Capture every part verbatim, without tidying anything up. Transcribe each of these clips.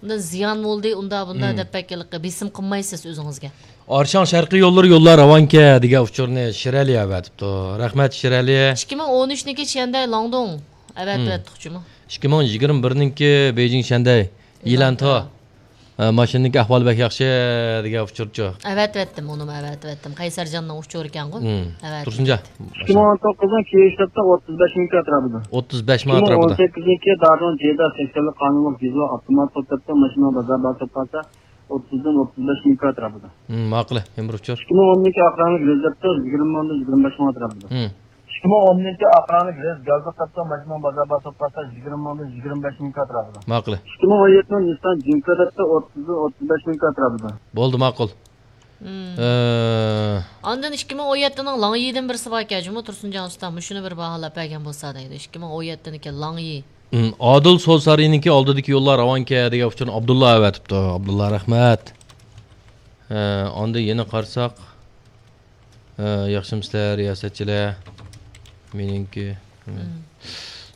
ئۇندىن زىيان بولدى، ئۇندا بۇندا دەپ بەك ھېلىقى بېسىم قىلمايسىز ئۆزىڭىزگە. ئارشاڭ شەرقىي يوللىرى يوللار راۋانكەن دېگەن ئۇچۇرنى شىرئەلى ئەۋەتىپتۇ. رەھمەت، شىرئەلى. ئىككى مىڭ ئون ئۈچنىڭكى شيەندەي لاڭدۇڭ ئەۋەتىۋەتتۇق جۇمۇ. ئىككى مىڭ يىگىرمە بىرنىڭكى بېيجىڭ شيەندەي يىلانتو. ھە، ماشىنىنىڭكى ئەھۋالى بەك ياخشى دېگەن ئۇچۇرچۇ. ئەۋەتىۋەتتىم، ئۇنىمۇ ئەۋەتىۋەتتىم. قەيسەرجاننىڭ ئۇچۇرىكەنغۇ. ئەۋەتىۋەتتىم. تۇرسۇنجان. ئىككى مىڭ ئون توققۇزنىڭ كېيىن شتابتا ئوتتۇز بەش مىڭ كاترا بۇدا. ئوتتۇز بەش مىڭ ئىككى مىڭ ئون سەككىزنىڭكى دادۇن جېدا سەكسەنلىك قانۇنلۇق جېزا ئاپتومات توپ دەپتۇ ماشىنا بازار باسىپ قالسا، ئوتتۇزدىن ئوتتۇز بەش مىڭ كاترا بۇدا. ماقۇل، يەنە بىر ئۇچۇر. ئىككى مىڭ ئوننىڭكى ئاخىرانلىق رېز دەپتۇ يىگىرمە مىڭدىن يىگىرمە بەش مىڭ كاترا بۇدا. ئىككى مىڭ ئوننىڭكى ئاخىرانلىق رېز گازلىق دەپتۇ ماشىنا بازار باسىپ قالسا، يىگىرمە مىڭدىن يىگىرمە بەش مىڭ كاترا بۇدا. ماقۇل. ئىككى مىڭ ئون يەتتىنىڭ نىسسان جىنكا دەپتۇ ئوتتۇزدىن ئوتتۇز بەش مىڭ كاترا بۇدا. بولدى، ماقۇل. ئاندىن ئىككى مىڭ ئون يەتتىنىڭ لاڭيىدىن بىرسى باركەن جۇمۇ، تۇرسۇنجان ئۇستام، مۇشۇنى بىر باھالاپ بەرگەن بولسا دەيدۇ. ئىككى مىڭ ئون يەتتىنىڭكى لاڭيى. ئادىل سودا سارىيىنىڭكى ئالدىدىكى يوللار راۋانكەن دېگەن ئۇچۇرنى ئابدۇللا ئەۋەتىپتۇ. ئابدۇللا، رەھمەت. ئاندىن يەنە قارىساق. ھە، ياخشىمۇسىلەر رىياسەتچىلەر؟ مېنىڭكى.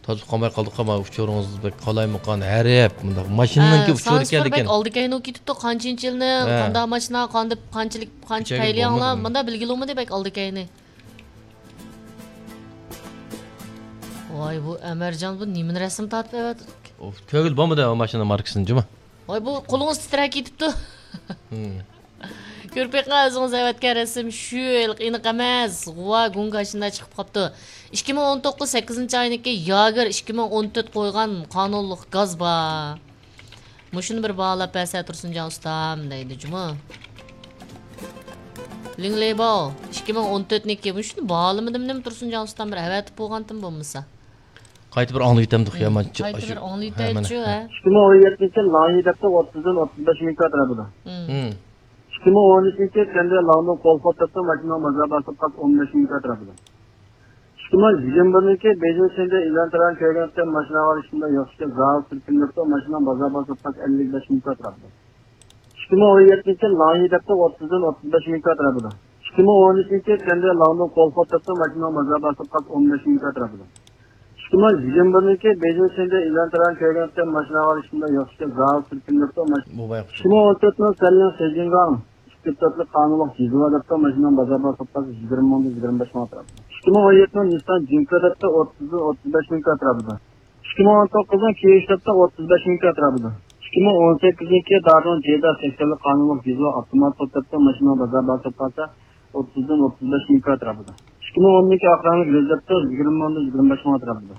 تازا قالماي قالدۇق، ما ئۇچۇرىڭىز بەك قالايمىقان، ھەرپ مۇنداق ماشىنىنىڭكى ئۇچۇرى سانسىفىر بەك ئالدىكەينىۋ كېتىپتۇ، قانچە ئىنچىلنى، قاندا ماشىنا، قاندىپ، قانچىلىك، قانچە پەيلى ئاڭلا، مۇندا بىلگىلى بولمىدى بەك ئالدىكەينى. ۋاي، بۇ ئەمەرجان، بۇ نېمىنى رەسىم تارتىپ ئەۋەتتى؟ كۆرگىلى بولمىدى ئۇ ماشىنا ماركىسىنى جۇمۇ. ۋاي، بۇ قولىڭىز تىترەپ كېتىپتۇ. كۆرۈپ بېقىڭ، ئۆزىڭىز ئەۋەتكەن رەسىم شۇ ھېلىقى ئېنىق ئەمەس. غۇۋا گۇڭگاشىندا چىقىپ قاپتۇ. ئىككى مىڭ ئون توققۇز سەككىزىنچى ئاينىڭكى ياگېر ئىككى مىڭ ئون تۆت قويغان قانۇنلۇق گاز بار. مۇشۇنى بىر باھالاپ بەرسە تۇرسۇنجان ئۇستام دەيدۇ جۇمۇ. لىڭلېباۋ ئىككى مىڭ ئون تۆتنىڭكى، مۇشۇنى باھالىمىدىم نېمە تۇرسۇنجان ئۇستام، بىر ئەۋەتىپ بولغانتىم بولمىسا. قايتا بىر ئاڭلىۋېتەمدۇق يا، مانا. قايتا بىر ئاڭلىۋېتەيچۇ، ھە. ئىككى مىڭ ئون يەتتىنچى لايىھە دەپتۇ ئوتتۇزدىن ئوتتۇز بەش مىڭ كاترا بۇدا. ئىككى مىڭ ئون ئۈچىنچى تەندە لاڭدۇن قول خورتەپتە ماشىنا بازار باسىپ قاپ ئون بەش مىڭ كاترا بۇدا. ئىككى مىڭ يىگىرمە بىرنىڭكى بېيجىڭ شەندە ئېلان تاران كۆرگەن ماشىنا ئالىشىمدا يوق ئىكەن، زاۋۇت سۈركۈندۈرۈپتۇ ماشىنا بازار باسىپ قاپ ئەللىك بەش مىڭ كاترا بۇدا. ئىككى مىڭ ئون يەتتىنچى لايىھە دەپتۇ ئوتتۇزدىن ئوتتۇز بەش مىڭ كاترا بۇدا. ئىككى مىڭ ئون ئۈچىنچى تەندە لاڭدۇن قول خورتەپتە ماشىنا بازار باسىپ قاپ ئون بەش مىڭ كاترا بۇدا. ئىككى مىڭ يىگىرمە بىرنىڭكى بېيجىڭ شەندە ئېلان تاران كۆرگەن ماشىنا ئالىشىمدا يوق ئىكەن، زاۋۇت سۈركۈندۈرۈپتۇ ماشىنا. بۇ باياقى. ئىككى مىڭ ئون تۆتنىڭ سەللىڭ شېجىڭگاڭ ئىككى تۆتلۈك قانۇنلۇق جىزۋا دەپتۇ ماشىنا بازار باسىپ قاپ يىگىرمە مىڭدىن يىگىرمە بەش مىڭ ئەتراپىدا. ئىككى مىڭ ئون يەتتىنىڭ نىسسان جىنكا دەپتۇ ئوتتۇزدىن ئوتتۇز بەش مىڭ ئەتراپىدا. ئىككى مىڭ ئون توققۇزنىڭ كېيىن شتابتا ئوتتۇز بەش مىڭ ئەتراپىدا. ئىككى مىڭ ئون سەككىزنىڭكى دادۇن جېدا سەكسەنلىك قانۇنلۇق جىزۋا ئاپتومات توپ دەپتۇ ماشىنا بازار باسىپ قالسا، ئوتتۇزدىن ئوتتۇز بەش مىڭ ئەتراپىدا. ئىككى مىڭ ئوننىڭكى ئاخىرانلىق رېز دەپتۇ يىگىرمە مىڭدىن يىگىرمە بەش مىڭ ئەتراپىدا.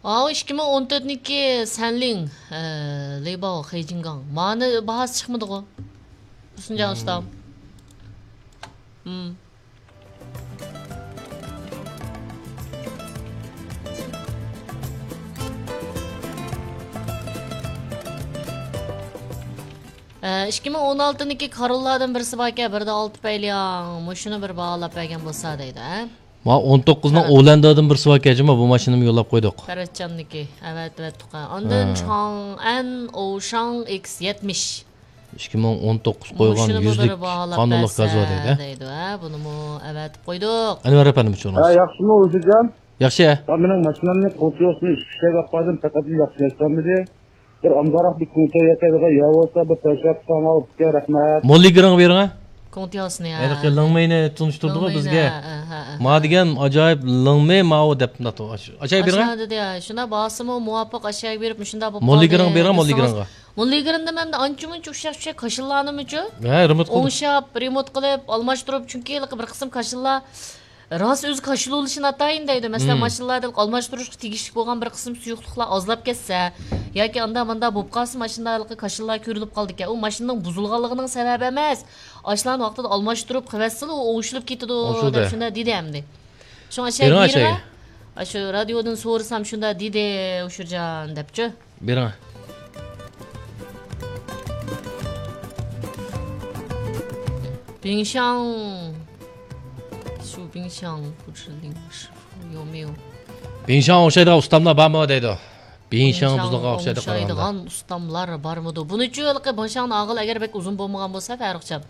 ئاۋۇ ئىككى مىڭ ئون تۆتنىڭكى سەنلىڭ، ئە، لېيباۋ خېيجىنگاڭ. مانى باھاسى چىقمىدىغۇ؟ تۇرسۇنجان ئۇستام. ئىككى مىڭ ئون ئالتىنىڭكى كاروللاردىن بىرسى باركەن، بىردە ئالتە پەيلىياڭ. مۇشۇنى بىر باھالاپ بەرگەن بولسا دەيدۇ، ھە؟ ما ئون توققۇزنىڭ ئولەندادىن بىرسى باركەن، جۇمۇ، بۇ ماشىنىمۇ يوللاپ قويدۇق. پەرەتجاننىكى ئەۋەتىۋەتتۇق، ھە. ئاندىن چاڭئەن ئوشاڭ ئېكس يەتمىش. ئىككى مىڭ ئون توققۇز قويغان يۈزلۈك قانۇنلۇق گاز بار دەيدۇ. دەيدۇ، ھە، بۇنىمۇ ئەۋەتىپ قويدۇق. ئەنۋەر ئەپەندىمۇ چوڭ. ھە، ياخشىمۇ، ھۇزۇرجان؟ ياخشى. ھە، مېنىڭ ماشىنامنى قۇلتۇيوسنى ئىككى كىشىلەرگە ئاپاردىم، پەقەت ياخشى ياشلانمىدى. بىر ئامراق بىر كۇڭتو ياكى يا بولسا بىر تاشلاپ ساڭا ئۇكا، رەھمەت. موللىگىرىڭغا بېرىڭە. كۇڭتياۋسىنى، ھە. ھېلىقى لىڭمېينى تونۇشتۇردىغۇ بىزگە. ھە، ھە، ھە. ما دېگەن ئاجايىپ لىڭمېي ماۋۇ دەپ مۇنداق ئاشۇ. ئاشۇ بېرىڭە. ئاشۇنداق دېدى، ھە. شۇنداق باھاسىمۇ مۇۋاپىق ئاشۇ بېرىپ مۇشۇنداق بولۇپ قالدى. موللىگىرىڭغا بېرىڭە، موللىگىرىڭغا. موللىگىرىڭدا مەندە ئانچە مۇنچە ئۇششاق چۈشەك كاشىللارنىمۇچۇ؟ ھە، رېمونت قىلدىم. ئوڭشاپ، رېمونت قىلىپ، ئالماشتۇرۇپ، چۈنكى ھېلىقى بىر قىسىم كاشىللار راست ئۆزى كاشىلا بولۇشى ناتايىن دەيدۇ. مەسىلەن، ماشىنىلاردا ئالماشتۇرۇشقا تېگىشلىك بولغان بىر قىسىم سۇيۇقلۇقلار ئازلاپ كەتسە ياكى ئاندا ماندا بولۇپ قالسا، ماشىنىدا ھېلىقى كاشىللار كۆرۈلۈپ قالىدىكەن. ئۇ ماشىنىنىڭ بۇزۇلغانلىقىنىڭ سەۋەبى ئەمەس. ئاشۇلارنى ۋاقتىدا ئالماشتۇرۇپ قىلىۋەتسىلا، ئۇ ئوڭشىلىپ كېتىدۇ دەپ شۇنداق دېدى ئەمدى. شۇڭا ئاشۇ بېرىڭ، بېرىڭە. ئاشۇ رادىيودىن سورىسام شۇنداق دېدى، ئۇشۇرجان دەپچۇ. بېرىڭە. بىڭشاڭ. شۇ بىڭشاڭ، بۇ شۇ لىڭ، شۇ يو ميو. بىڭشاڭ ئوخشايدىغان ئۇستاملار بارمۇ دەيدۇ. بىڭشاڭ بىڭشاڭ بۇزۇلغان ئوخشايدىغان ئوخشايدىغان ئۇستاملار بارمىدۇ؟ بۇنىچۇ ھېلىقى بىڭشاڭنى ئاغىل ئەگەر بەك ئۇزۇن بولمىغان بولسا، فەرۇقجان.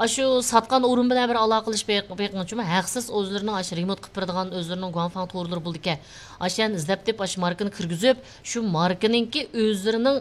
ئاشۇ ساتقان ئورۇن بىلەن بىر ئالاقىلىشىپ بېق-، بېقىڭچۇ، ھەقسىز ئۆزلىرىنىڭ ئاشۇ رېمونت قىلىپ بېرىدىغان ئۆزلىرىنىڭ گۇاڭفاڭ تورلىرى بولىدىكەن. ئاشۇ يەرنى ئىزدەپ تېپىپ، ئاشۇ ماركىنى كىرگۈزۈپ، شۇ ماركىنىڭكى ئۆزلىرىنىڭ